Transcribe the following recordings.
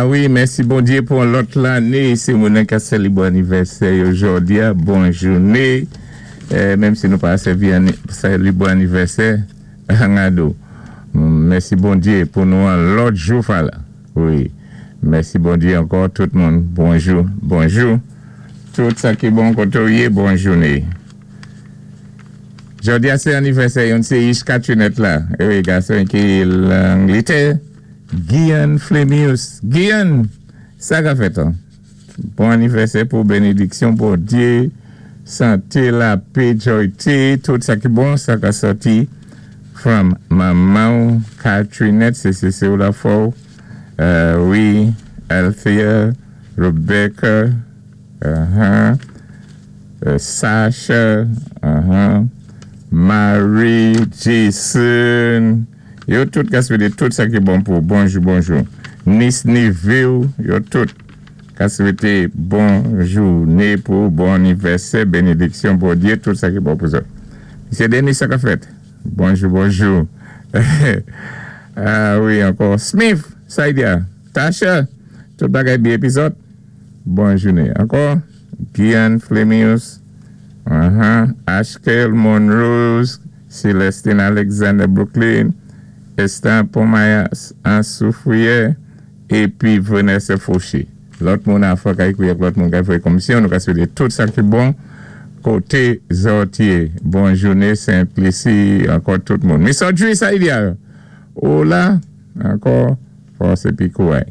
A wi, mèsi Bondyé pou yon lòt lanné. Si moun nan ka sélébwé anivèsè yo jòdi a, bon jouné. Menm si nou pa sèvi sélébwé anivèsè, ngado. Mèsi Bondyé pou nou an lòt jou fala. Wi. Mèsi Bondyé ankò tout moun. Bonjou, bonjou. Tout sa ki bon koté w yé, bon jouné. Jòdi a sé anivèsè youn sé ich Katrinèt la. Wi, gason ki Langlitè. Guianne Flemius Guianne! Sa ka fèt an? Bon anivèsè pou benediksyon Bondye, sante, lapé, joyte, tout sa ki bon sa ka sòti from manmanw Catrinette se se se w la fòw wi Althea Rebecca uh-huh Sasha uh-huh Marie Jason Yo tout ka swete tout sa ki bon pou bonjou bonjou nis nevew yo tout ka swete bon joune pou bon anivèsè benediksyon Bondye tout sa ki bon pou zòt mesye Denis sa kap fèt bonjou bonjou ah wi ankò Smith Saidia Tasha tout bagay byen epi zòt bon joune ankò Guianne Flemius ahan Ashkel Monrose Celestine Alexander Brooklyn, Esther Pomayas Ansoufrière, épi Vanessa Fauché. Lòt moun afè ka ékri ak lòt moun ka voyé komisyon, nou ka swété tout sa ki bon koté zòt yé. Bon jouné Sent Lisi ankò tout moun. Miss Audrey Saidia ou la ankò fòs épi kouray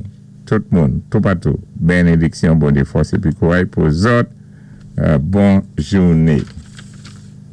tout moun toupatou benediksyon Bondye fòs épi kouray pou zòt bon jouné.